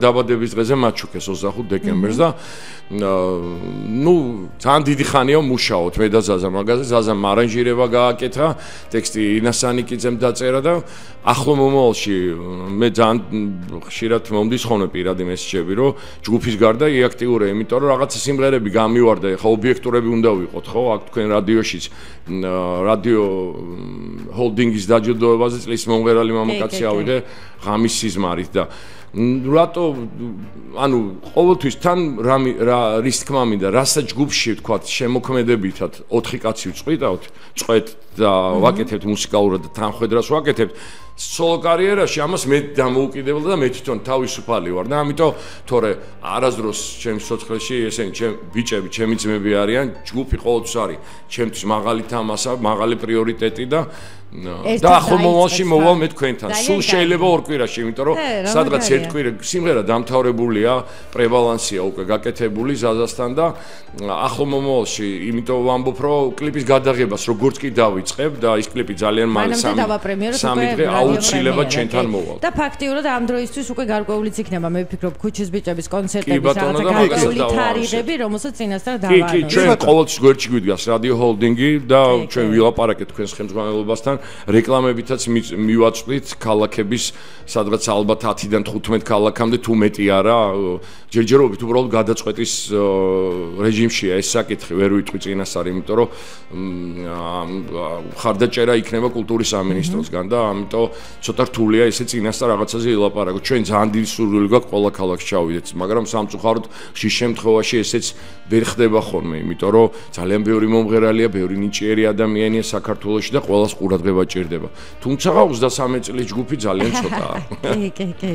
დაბადების დღეზე მაჩუქეს 25 დეკემბერს და ძალიან დიდი ხანია მუშაობთ მე და ზაზა მაგაზე ზაზამ არანჟირება გააკეთა ტექსტი ინასანიკიძემ დაწერა და ახლო მომავალში მე ძალიან ხშირად მომდის ხოლმე პირადი მესეჯები რომ ჯგუფის გარდა იაქტიურე იმიტომ რომ რაღაცა სიმღერები გამივარდა ხა ობიექტურები უნდა ვიყოთ ხო აქ თქვენ რადიოშიც რადიო ჰოლდინგის დაჯილდოებაზე წლის მომღერალი მამაკაცი ავიღე ღამის სიზმარით და რატო ანუ ყოველთვის თან რის თქმა მინდა რასაც ჯგუფში ვთქვათ შემოქმედებითად 4 კაცი ვწყვიტავთ წვეთ და ვაკეთებთ მუსიკალურად და თანხwebdriverს ვაკეთებთ სოლო კარიერაში ამას მე დამოუკიდებელ და მე თვითონ თავისუფალი ვარ და ამიტომ თორე არასდროს ჩემს სოცხლეში ესენი ბიჭები ჩემი ძმები არიან ჯგუფი ყოველთვის არის ჩემთვის მაღალი თამასა მაღალი პრიორიტეტი და ახლო მომავალში მოვალ მე თქვენთან. სულ შეიძლება 2 კვირაში, იმიტომ რომ სადღაც 1 კვირა სიმღერა დამთავრებულია, პრევალანსია უკვე გაკეთებული ზაზასთან და ახლო მომავალში, იმიტომ ვამბობ, რომ კლიპის გადაღებას როგორც კი დავიწყებ და ის კლიპი ძალიან მალე 3 დღე აუცილებლად ჩვენთან მოვალ. და ფაქტიურად ამ დროისთვის უკვე გარკვეულიც იქნება, მე ვფიქრობ, ქუჩის ბიჭების კონცერტების გარკვეული თარიღები, რომელსაც წინასწარ დავაარდეთ. კი, ჩვენ ყოველთვის გვერდში გვიდგას რადიო ჰოლდინგი და ჩვენ ვილაპარაკეთ თქვენს ხელმძღვანელობასთან. რეკლამებითაც მივაწვით ქალაქების სადღაც ალბათ 10-დან 15 ქალაქამდე თუ მეტი არა ჯერჯერობით უბრალოდ გადაწყვეტის რეჟიმშია ეს საკითხი ვერ ვიტყვი წინასწარ იმიტომ რომ ხარდაჭერა იქნება კულტურის სამინისტროსგან და ამიტომ ცოტა რთულია ესე წინასწარ რაღაცაზე ილაპარაკო ჩვენ ძალიან დიდი სურვილი გვაქვს ყველა ქალაქს ჩავიდეთ მაგრამ სამწუხაროდ ხშირ შემთხვევაში ესეც ვერ ხდება ხოლმე იმიტომ რომ ძალიან ბევრი მომღერალია ბევრი ნიჭიერი ადამიანია საქართველოში და ყველას ყურადღება ჭირდება. თუმცა 23 წლის ჯგუფი ძალიან ცოტაა. კი.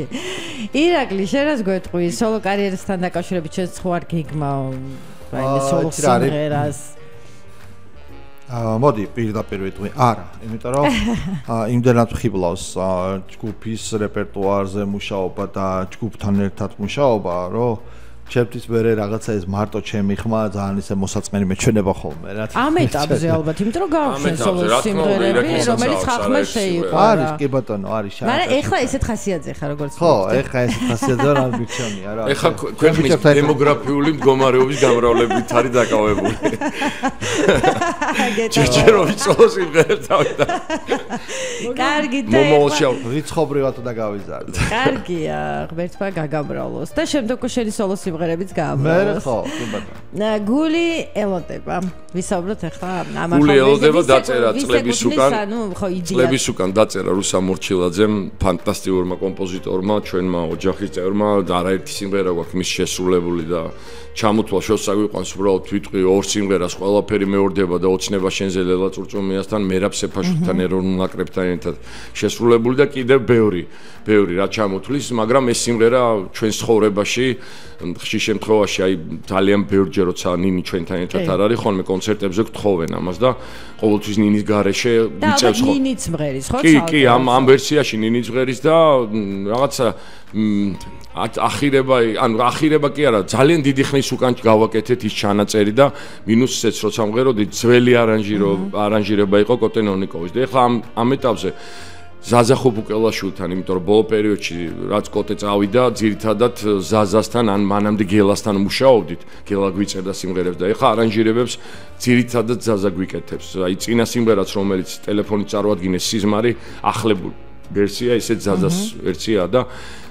ირაკლი, შენ რას გვეტყვი? სოლო კარიერასთან დაკავშირებით შენ ხო არ გიგმაო? აი, სოლო სიმღერას. მოდი, პირდაპირ ვიტყვი. არა, იმიტომ რომ იმდენად ხიბლავს ჯგუფის რეპერტუარზე მუშაობა და ჯგუფთან ერთად მუშაობა, რომ ჩემთვის მერე რაღაცა ეს მარტო ჩემი ხმა ძალიან ისე მოსაწყენი მეჩვენება ხოლმე რა. ამ ეტაპზე ალბათ, იმიტომ რომ გავხსენ სოლო სიმღერები, რომელიც ხახმაშე იყო. არის, კი ბატონო, არის შენ. მაგრამ ეხლა ესეთ ხასიათზე ხარ როგორც ხო, ეხლა ესეთ ხასიათზე რა მიჩვენია რა. ეხლა ქვეყნის დემოგრაფიული მდგომარეობის გამრავლებით არის დაკავებული. ჯერჯერობით სოლო სიმღერებს დავიდა. კარგი და მომავალში რიცხობრივად და გავიზარდე. კარგია, ღმერთმა გაგამრავლოს და შემდეგ შენი სოლო სიმღერებიც გაამრავლოს. მე ხო, კი ბატონო. გული ელოდება. ვისაუბროთ ახლა ამაზე. გული ელოდება დაწერა წლების უკან დაწერა რუსა მორჩილაძემ, ფანტასტიკურმა კომპოზიტორმა, ჩვენმა ოჯახის წევრმა და არაერთი სიმღერა გვაქვს მის შესრულებული და ჩამოთვალ შორს აგვიყვანს უბრალოდ ვიტყვი 2 სიმღერას ყველაფერი მეორდება და ოცნება შენზე ლელა წურწუმიასთან მერაბ სეფაშვილთან ეროვნულ ნაკრებთან ერთად შესრულებული და კიდევ ბევრი რა ჩამოთვლის მაგრამ ეს სიმღერა ჩვენს ცხოვრებაში ხშირ შემთხვევაში აი ძალიან ბევრჯერ როცა ნინი ჩვენთან ერთად არ არის ხოლმე კონცერტებზე გთხოვენ ამას და ყოველთვის ნინის გარეშე ვიწევს ხო ნინიც მღერის ხო კი ამ ვერსიაში ნინიც მღერის და რაღაცა ახირება კი არა ძალიან დიდი ხნის უკან გავაკეთეთ ის ჩანაწერი და მინუსიც როცა მღეროდი ძველი არანჟირება იყო კოტენონიკოვის და ეხლა ამ ეტაპზე ზაზა ხუბუკელაშვილთან იმიტომ რომ ბოლო პერიოდში რაც კოტე წავიდა ძირითადად ზაზასთან ან მანამდე გელასთან მუშაობდით გელა გვიწერდა სიმღერებს და ეხლა არანჟირებებს ძირითადად ზაზა გვიკეთებს აი წინა სიმღერაც რომელიც ტელეფონით წარვადგინეს სიზმარი ახლებულ ვერსია ისეთ ზაზას ვერსია და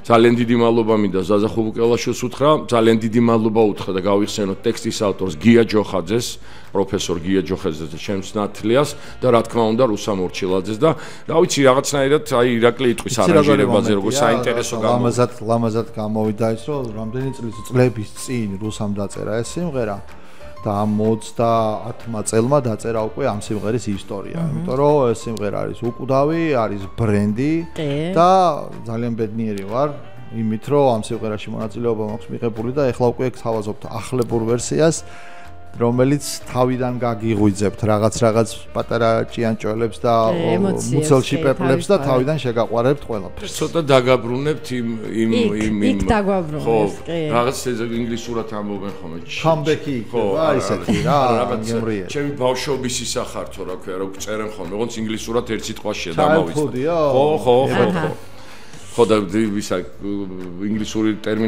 ძალიან დიდი მადლობა მინდა ზაზა ხუბუკელაშვილს უთხრა ძალიან დიდი მადლობა უთხრა და გავიხსენოთ ტექსტის ავტორს გია ჯოხაძეს პროფესორ გია ჯოხაძეს და ჩემს ნათლიას და რა თქმა უნდა რუსა მორჩილაძეს და რა ვიცი რაღაცნაირად აი ირაკლი იტყვის არანჟირებაზე როგორც საინტერესო ლამაზად გამოვიდა ის რომ რამდენი წლების წინ რუსამ დაწერა ეს სიმღერა და ამ 30 წელმა დაწერა უკვე ამ სიმღერის ისტორია. იმიტომ რომ ეს სიმღერა არის უკვდავი, არის ბრენდი და ძალიან ბედნიერი ვარ იმით რომ ამ სიმღერაში მონაწილეობა მაქვს მიღებული და ეხლა უკვე გავაზობთ ახლებურ ვერსიას რომელიც თავიდან გაგიღვიძებთ რაღაც პატარა ჭიანჭველებს და მუცელში პეპლებს და თავიდან შეგაყვარებთ ყველაფერს. ცოტა დაგაბრუნებთ იმ დაგაბრუნებს, კი. რაღაც ინგლისურად ამბობენ ხოლმე. Comeback-ი იქნება ისეთი რა, გემრიელი. ჩემი ბავშვობის ისახართო რა ქვია, რომ წერენ ხოლმე, როგორც ინგლისურად ერთ სიტყვაშია დამოვიწყდა. ხო. ხო და ისა ინგლისური ტერმინი